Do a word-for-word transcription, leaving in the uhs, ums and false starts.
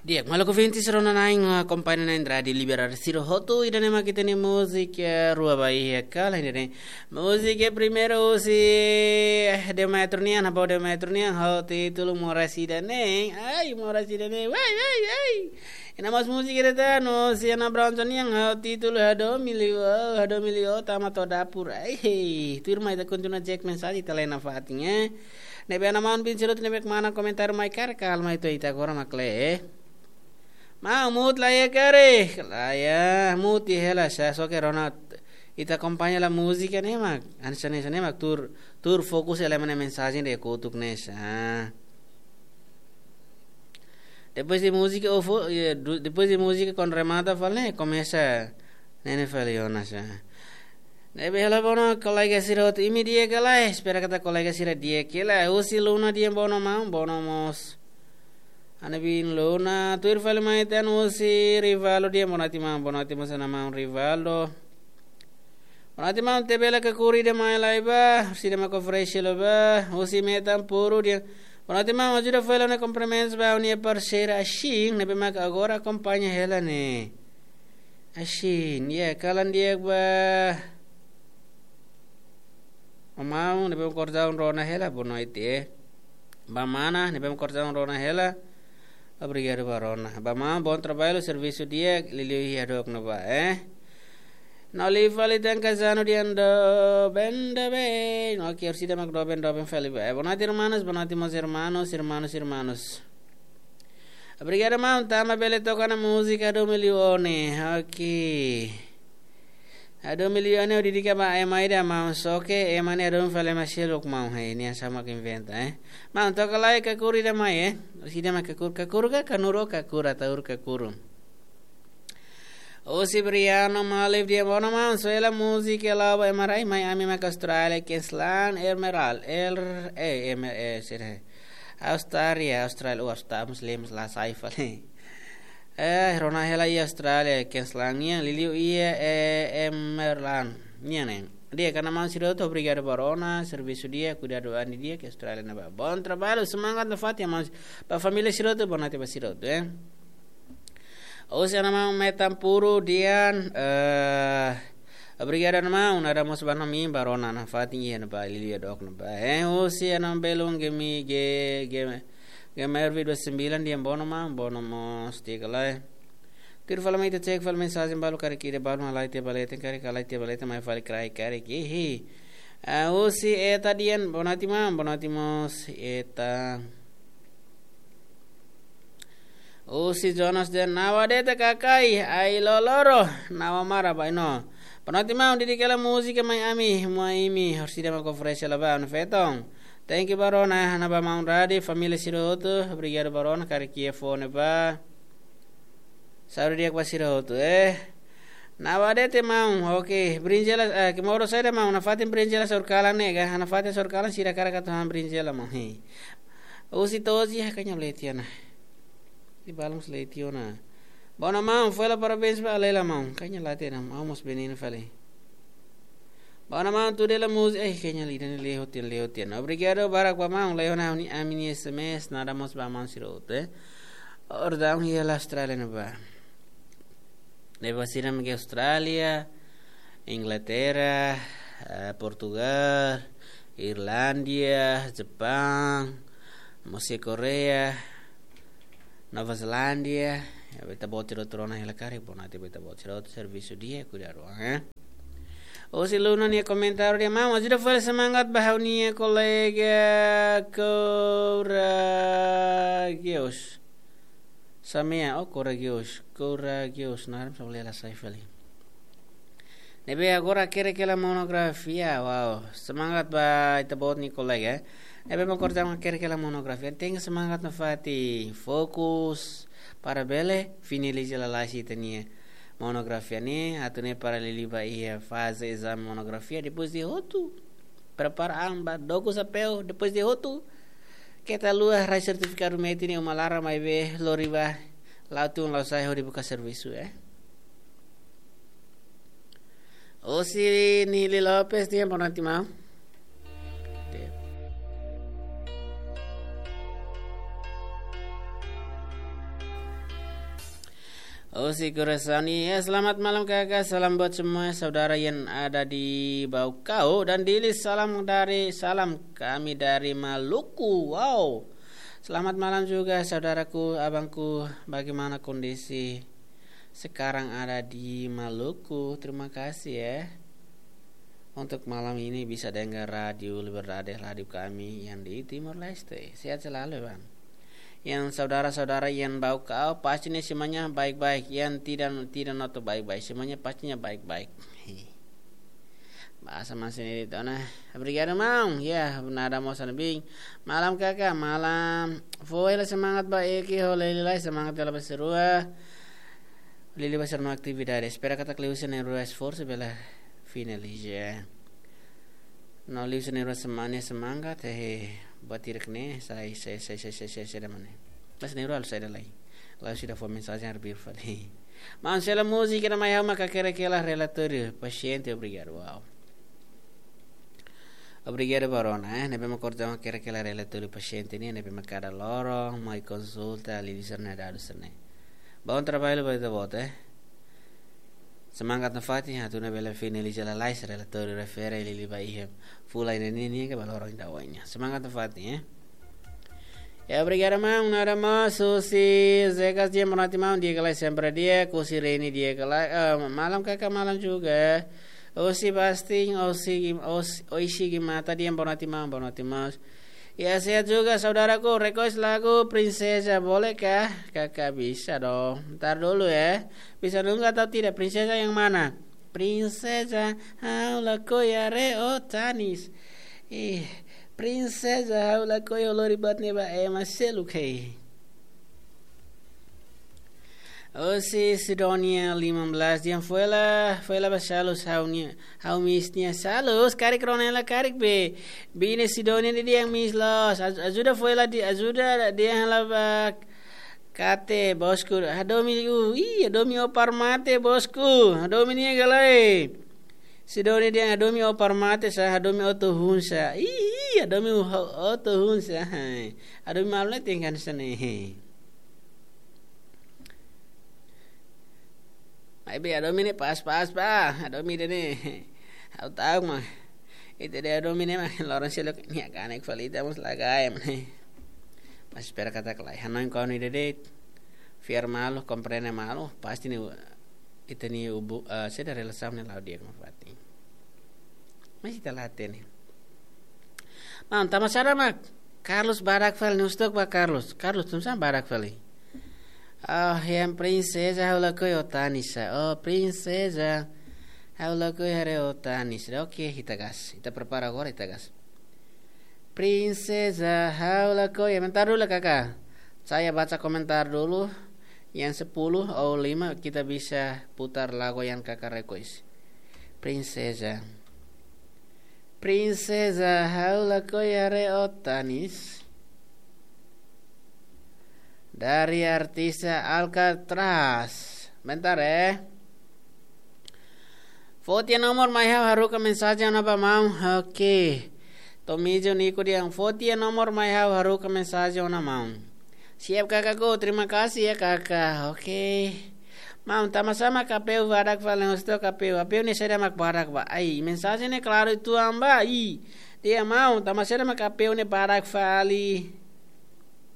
Di'ak, maluk ouvintes, rona na'in, akompaña na'in Rádiu Liberdade sira hotu, ida-ne'e mak ita-nia múzika rua ba iha kala ida-ne'e. Múzika primeiru husi, eh, Demetrio nian, ha'u Demetrio nian, ho títulu Moras Ida Ne'e. Ai, Moras Ida Ne'e. Wai, wai, wai. Iha mós múzika ida tan husi Ana Bronson nian, ho títulu Hadomi Liu Ó, Hadomi Liu Ó, tama to'o dapur. Ai, hei. Tuirmai ita kontinua cek mensajen ita lee nafatin, eh. Ne'ebé ana maun bin sira hotu ne'ebé mak mana komentáriu mai karik, kalma ita, ita agora mak lee, eh. Maun, mute la iha karik? La iha, mute hela sá, só ke rona ita akompaña hela múzika ne'e mak. Hanesan ne'e, hanesan ne'e mak tuur, tuur fokus hela ema nia mensajen ida kotuk ne'e sá. Depois de múzika, ou fo-, eh, du-, depois de múzika, kuandu remata fali ne'e, komesa ne'e ne'e fali ona sá. Ne'ebé hela, bono kolega sira hotu, imi di'ak ka lae? Espera katak kolega sira di'ak hela. Husi Luna nian, bono maun, bono mós. Ana bin Luna, tuir fali mai tan husi Rivaldo nian, boa noite maun, boa noite mós ana maun Rivaldo. Boa noite maun, tebela kakuru ida mai lai ba, sira mak oferese hela ba, husi Metan Puru nian. Boa noite maun, ajuda fali ha'u-nia kumprimentus ba ha'u-nia parseira Ashin, ne'ebé mak agora akompaña hela ne'e. Ashin, ya, kalan di'ak ba maun, ne'ebé mak kordaun rona hela, boa noite, eh. Ba mana, ne'ebé mak kordaun rona hela. Obrigadu ba rona. Ba maun, bom trabalho, servisu di'ak, liuliu iha dook ne'ebá, eh. No liu fali tan Kazano nian, doben, doben. Oke, orsida mak doben, doben fali ba. Eh, boa noite, irmanos, boa noite, meus irmãos, irmanos, irmanos. Obrigadu maun, tanba bele toka ona múzika Hadomi Liu Ó ne'e. Oke. Hadomi Liu Ó ne'e ha'u dedika ba ema ida maun, só ke ema ne'e hadomi fali ema seluk maun, hei, nia hanesan mak inventa, eh. Maun, toka lai kakuru ida mai, eh. Orsida mak kakuru, kakuru ka kanuru, kakuru, ataur kakuru. Husi Briano Malif nian, bono maun, soe hela múzika La'o ba Ema Rai, mai ami mak Austrália, Queensland, Emerald, er, eh, Emer-, eh, sira. Austrália, Austrália, oh, Austrália, mós lemos la sai fali. Eh, rona hela iha Austrália, Queensland nian, liuliu iha, eh, Emerald nian ne'e. Di'ak, ana maun sira hotu, obrigadu ba rona, servisu di'ak, kuidadu an di'ak iha Austrália ne'ebá. Bom trabalho, semangat nafatin, maun. Ba família sira hotu, boa noite ba sira hotu, eh. Husi ana maun Metan Puru nian, eh, obrigadu ana maun, naran mós ba ami, ba rona nafatin iha ne'ebá, liuliu dook ne'ebá. Eh, husi ana maun belun Gemi, Ge-, Ge-, Gemer Vido Sembilan nian, bono maun, bono mós, di'ak ka lae. Tuir fali mai ita cek fali mensajen balu, karik ida balu mak la iha tiha ba leten, karik la iha tiha ba leten, mai fali kraik karik, ihi. Ah, husi Eta nian, boa noite maun, boa noite mós, Eta. Husi Jonas nian, Nawa de'it kakai, ai loloro, Nawa mara ba ino. Boa noite maun, dedika hela múzika mai ami, mai imi, orsida mak oferese hela ba, no feton. Thank you ba rona, ha'u-nia ba maun Radi, família sira hotu, obrigadu ba rona, karik iha fó ne'ebá. Saúde di'ak ba sira hotu, eh. Nawa de'it maun, oke, brinjela, eh, ke modo saida maun, nafatin brinjela saur kalan ne'e ka, nafatin saur kalan sira hakarak atu han brinjela maun, hei. Husi Tozi, ah, kayaknya la iha tiha ona. Di balum la iha tiha ona. Bono maun, fó hela parabéns ba Alela maun. Kayaknya la iha tiha ona, maun mós beninu fali. Bono maun, tuda hela múzika, eh, kayaknya la iha tiha ona, la iha tiha ona, la iha tiha ona. Obrigadu barak ba maun, la iha ona ami-nia S M S, naran mós ba maun sira hotu, eh. Ordaun iha Austrália ne'ebá. Ne'ebá sira mak iha Austrália, Inglaterra, eh, Portugal, Irlandia, Jepang, mós iha Korea, Nova Zelándia, ya, ba ita-boot sira hotu rona hela karik, boa noite ba ita-boot sira hotu, servisu di'ak, kuidadu an, eh. Husi Luna nia komentáriu dehan, maun, ajuda fali semangat ba ha'u-nia kolega Courageous. Samea, oh, Courageous, Courageous, naran só la sai fali. Ne'ebé agora hakerek hela monografia, wow. Semangat ba ita-boot nia kolega, eh. Ne'ebé mak kordaun hakerek hela monografia. Tenke semangat nafatin, fokus, para bele finaliza lalais ita-nia monografia ne'e, atu nune'e para liuliu ba iha faze ezame monografia, depois de hotu, prepara an ba doku xapeu, depois de hotu, keta haluha rai sertifikadu metin iha uma laran maibé lori ba, la'o tun la'o sa'e hodi buka servisu, eh. Husi Nili Lopes, di'ak, boa noite maun. Husi korasaun, ya, selamat malam kakak, salam buat semua saudara yang ada di Baucau dan Dili, salam dari, salam kami dari Maluku. Wow. Selamat malam juga saudaraku, abangku, bagaimana kondisi sekarang ada di Maluku? Terima kasih ya untuk malam ini bisa dengar radio Liberdade, radio kami yang di Timor Leste. Sehat selalu, Bang. Yang saudara-saudara yang Baucau, pastinya semuanya baik-baik. Yang tidak, tidak noto baik-baik, semuanya pastinya baik-baik. Bahasa masih ini, Dona. Obrigadu, maun. Ya, nada mau sana bing. Malam kakak, malam. Foin la semangat ba eki ho Lili lai, semangat hela ba sira-rua. Lili ba sira-nia atividade. Espera katak liuhusi na'in-rua esforsu bele finaliza. No liuhusi na'in-rua semangat, semangat, eh, buat tirak ne, sai, sai, sai, sai, sai, sai, sai, da mane. Mas na'in-rua sai da lai. Lalu sudah fó mensajen arbir fali. Maun, sela múzika ne'e mai ha'u mak hakerek hela relatóriu pasiente, obrigadu. Wow. Obrigadu, Barona, eh. Ne'ebé mak korta mak hakerek hela relatóriu pasiente nian, ne'ebé mak kada loron mai konsulta, Lili sira-nia dadus ne'e. Bom trabalho ba ita-boot, eh. Semangat nafatin, atu nune'e bele finaliza lalais relatóriu refere Lili ba iha fulan ida-ne'e nian ka ba loron ida oin nian. Semangat nafatin, eh. Ya, obrigadu, maun. Nada mais, husi Zekas, di'ak, boa noite, maun. Di'ak ka lae, sempre di'ak, husi Reni, di'ak ka lae, eh, malam kakak, malam juga. Husi Bastin, husi, husi, oishi gimata, di'ak, boa noite, maun, boa noite, maun. Ya, sehat juga saudaraku, request lagu Princesa, bolehkah? Kakak bisa dong. Ntar dulu ya. Bisa nunga atau tidak? Princesa yang mana? Princesa, ha'u lakohi haree ó tanis. Ih, Princesa, ha'u lakohi ó lori buat ne'ebá, eh, ema seluk hei. Husi Sidonia lima belas, di'ak, foin la, foin la ba Salus, ha'u-nia, ha'u miss nia Salus, karik rona hela karik be. Biin Sidonia ne'e di'ak, miss loos. Aj-, ajuda foin la di, ajuda di'ak hela ba Kate, bosku, hadomi, uh, ih, hadomi ó para mate, bosku, hadomi nia ka lae. Sidonia dehan hadomi ó para mate sá, hadomi ó to'o hun sá. Ih, ih, hadomi ó, ó to'o hun sá. Hai. Hadomi malu ne'e tenke hanesan ne'e. Maibé hadomi ne'e pas-pas ba, hadomi ida-ne'e. Ha'u ta'uk mak. Ita dehan hadomi ne'e mak loron seluk nia kanek fali ita mós la gaya mane. Mas espera katak lae. Hanoin kau ni dedet. Fiar malu, komprende malu, pasti ne'e ita-nia ubu, eh, saida, relasaun ne'e la'o di'ak nafatin. Mas ita la hatene. Maun, tanba sá mak Carlos badak fali, ne'e husu took ba Carlos. Carlos, tanba sá badak fali? Ah, yang Princesa, ha'u lakohi ó tanis sá. Oh, Princesa, ha'u lakohi haree ó tanis sá. Oke, ita gas. Ita prepara agora, ita gas. Princesa, ha'u lakohi. Sebentar dulu, kakak. Saya baca komentar dulu. Yang sepuluh ou lima, kita bisa putar lagu yang kakak request. Princesa. Princesa, ha'u lakohi haree ó tanis. Dari artis Alcatraz. Bentar, eh. Fó tiha nomor mai ha'u haruka mensajen ona ba maun. Oke. Tomijo Niko dehan fó tiha nomor mai ha'u haruka mensajen ona maun. Siap kakakku, terima kasih ya kakak. Oke. Maun, tanba sá mak apeu badak fali, ne'e husu took apeu. Apeu ne'e saida mak badak ba? Ai, mensajen ne'e klaru uitoan ba. Ih. Dehan maun, tanba sá mak apeu ne'e badak fali?